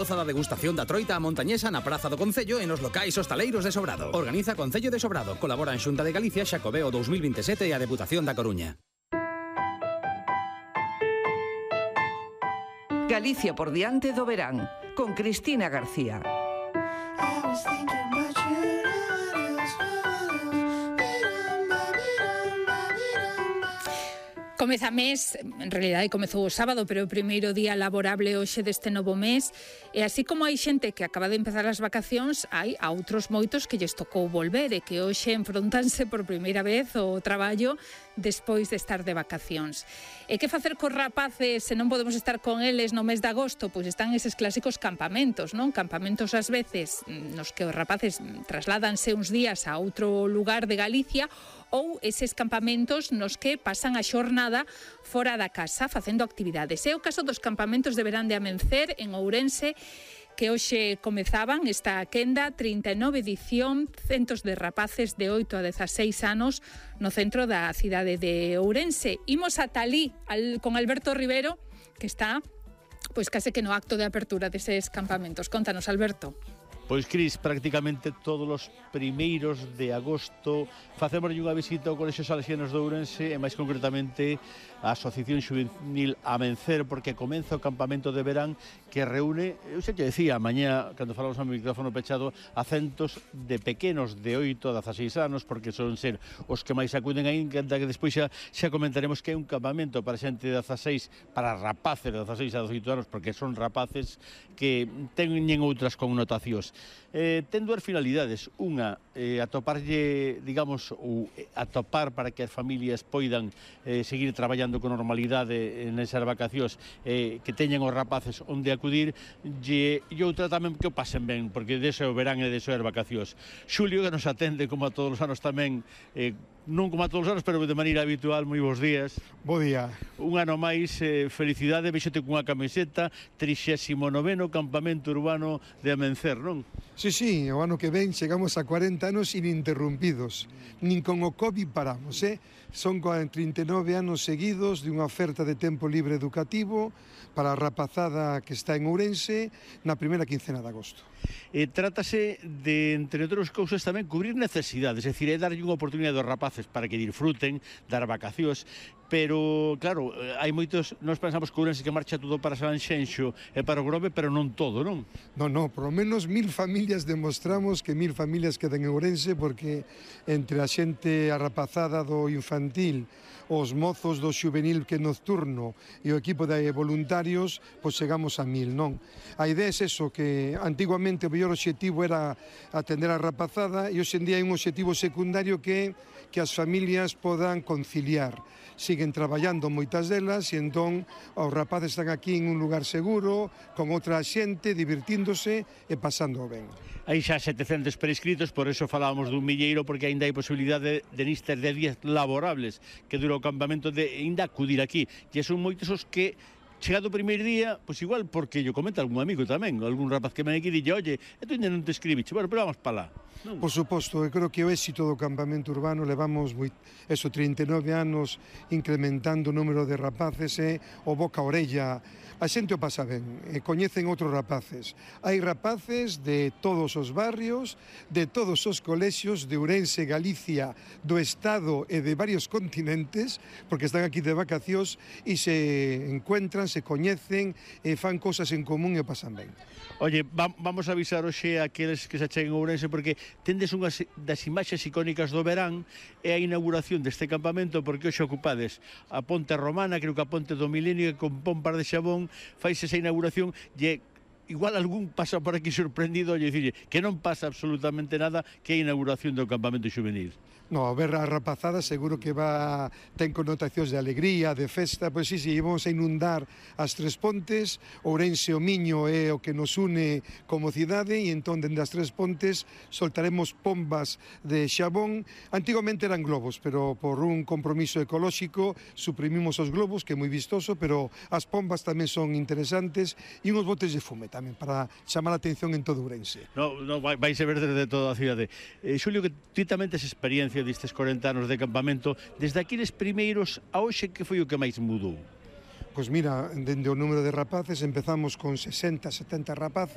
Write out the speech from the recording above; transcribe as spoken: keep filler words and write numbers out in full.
Goza da degustación da troita a montañesa na Praza do Concello e nos locais hostaleiros de Sobrado. Organiza Concello de Sobrado. Colabora en Xunta de Galicia, Xacobeo dous mil vinte e sete e a Deputación da Coruña. Galicia por diante do verán, con Cristina García. Comeza mes, en realidade comezou o sábado, pero o primeiro día laborable hoxe deste novo mes, e así como hai xente que acaba de empezar as vacacións, hai a outros moitos que lles tocou volver e que hoxe enfrontanse por primeira vez ao traballo despois de estar de vacacións. E que facer cos rapaces se non podemos estar con eles no mes de agosto? Pois están eses clásicos campamentos, non? Campamentos ás veces nos que os rapaces trasládanse uns días a outro lugar de Galicia, ou eses campamentos nos que pasan a xornada fora da casa facendo actividades. É o caso dos campamentos de verán de Amencer en Ourense, que hoxe comezaban esta quenda, trinta e nove edición, centos de rapaces de oito a dezaseis anos no centro da cidade de Ourense. Imos ata alí al, con Alberto Rivero, que está pois case que no acto de apertura deses campamentos. Contanos, Alberto. Pois, Cris, prácticamente todos os primeiros de agosto facemos unha visita ao Colexio Salesianos de Ourense e máis concretamente a Asociación Xuvenil Amencer, porque comeza o campamento de verán que reúne, eu xa te decía, mañá, cando falamos ao micrófono pechado, a centos de pequenos de oito a dezaseis anos, porque son ser os que máis acuden aí, que despois xa, xa comentaremos que é un campamento para xente de dezaseis, para rapaces de dezaseis a dezaoito anos, porque son rapaces que teñen outras connotacións. Eh, ten dúas finalidades. Unha, eh, atoparlle, digamos, ou atopar para que as familias poidan eh, seguir traballando con normalidade nesas vacacións, eh, que teñan os rapaces onde acudir, e, e outra tamén que o pasen ben, porque deso é o verán e deso é as vacacións. Xulio, que nos atende como a todos os anos tamén, eh, non como a todos os anos, pero de maneira habitual. Moi bons días. Bo día. Un ano máis, eh, felicidade, vexote cunha camiseta, trixésimo noveno campamento urbano de Amencer, non? Sí, sí, o ano que ven chegamos a cuarenta anos ininterrumpidos, nin con o COVID paramos, eh? Son trinta e nove anos seguidos de unha oferta de tempo libre educativo para a rapazada que está en Ourense na primeira quincena de agosto. E trátase de, entre outras cousas, tamén cubrir necesidades, é dicir, é darlle unha oportunidade aos rapaces para que disfruten das vacacións, pero, claro, hai moitos, nós pensamos que Ourense que marcha todo para Sanxenxo e para o Grove, pero non todo, non? Non, non, por lo menos mil familias demostramos que mil familias quedan en Ourense, porque entre a xente arrapazada do infantil, os mozos do xuvenil que nocturno e o equipo de voluntarios, pois chegamos a mil, non? A idea é eso, que antiguamente o mellor obxectivo era atender a rapazada e hoxe en día hai un obxectivo secundario que que as familias podan conciliar. Siguen traballando moitas delas e entón os rapaces están aquí en un lugar seguro, con outra xente, divertíndose e pasando ben. Hai xa setecentos prescritos, por eso falábamos dun milleiro, porque aínda hai posibilidade de nistes de días laborables que dura o campamento de ainda acudir aquí. E son moitos os que chegado o primeiro día, pois igual porque yo comenta algún amigo tamén, algún rapaz que me aquí dille, oye, e tu ainda non te escribiche, bueno, pero vamos para lá. Non? Por suposto, eu creo que o éxito do campamento urbano levamos moi, eso, trinta e nove anos incrementando o número de rapaces e o boca a orella. A xente o pasa ben, e coñecen outros rapaces. Hai rapaces de todos os barrios, de todos os colexios de Ourense, Galicia, do Estado e de varios continentes, porque están aquí de vacacións e se encuentran, se coñecen e fan cosas en común e o pasan ben. Oye, vamos a avisar hoxe a aqueles que se cheguen a Ourense, porque tendes unhas das imaxes icónicas do verán e a inauguración deste campamento, porque hoxe ocupades a Ponte Romana, creo que a Ponte do Milenio, que con pompas de xabón faise esa inauguración, e igual algún pasa por aquí sorprendido e dicirle que non pasa absolutamente nada, que é a inauguración do campamento xuvenil. No, a ver a rapazada seguro que va ten connotacións de alegría, de festa, pois sí, sí, vamos a inundar as Tres Pontes, Ourense o Miño é o que nos une como cidade, e entón dende as Tres Pontes soltaremos pombas de xabón. Antigamente eran globos, pero por un compromiso ecolóxico suprimimos os globos, que é moi vistoso, pero as pombas tamén son interesantes, e uns botes de fume tamén para chamar a atención en todo Ourense. No, no, vai ser ver desde toda a cidade. Eh, Xulio, que ti tamén tes experiencia destes corenta anos de campamento, desde aqueles primeiros a hoxe, que foi o que máis mudou? Pois mira, dende o número de rapaces empezamos con sesenta, setenta rapaces.